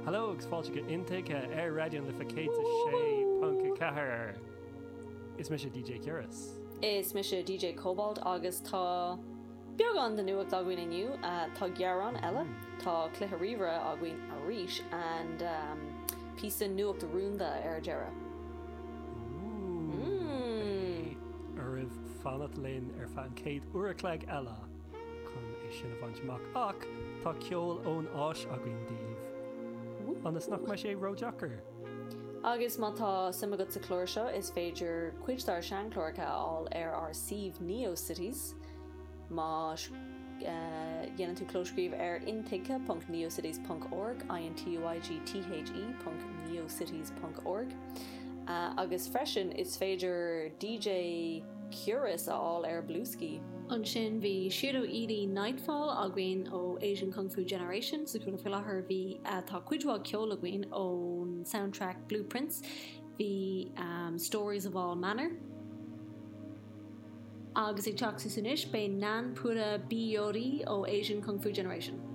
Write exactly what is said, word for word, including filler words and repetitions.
Hello agus fáilte go Intuigthe ar Raidió na Life céad a sé ponc ceathair. Is mise DJ Ciaras. Is mise DJ Cobalt agus tá beagán de nuacht againn inniu uh, tá gearán eile tá cluiche ríomhaire againn arís and um, píosa nuacht rúnda ar deireadh. Mm. Oraibh fanacht linn ar feadh an chéad uair a chloig eile chun é sin a bhaint amach ach tá ceol ón Áis againn daoibh. Ionas nach mbeidh sé ródheacair. Agus má tá suim agat sa chlár seo is féidir cuid dár seanchláracha a fháil ar ár suíomh Neocities má uh, dhéanann tú clóscríobh ar intuigthe.neocities.org intuigthe.neocities.org uh, agus freisin is féidir DJ Curious a fháil ar Bluesky. Ansin bhí Shiro Ely Nightfall againn ó Asian Kung Fu Generation sa cúla faoi láthair bhí uh, tá cuid mhaith ceol againn ón soundtrack Blueprints, bhí um, Stories of All Manner. Agus ag teacht suas anois beidh Nanpura Biyori ó Asian Kung Fu Generation.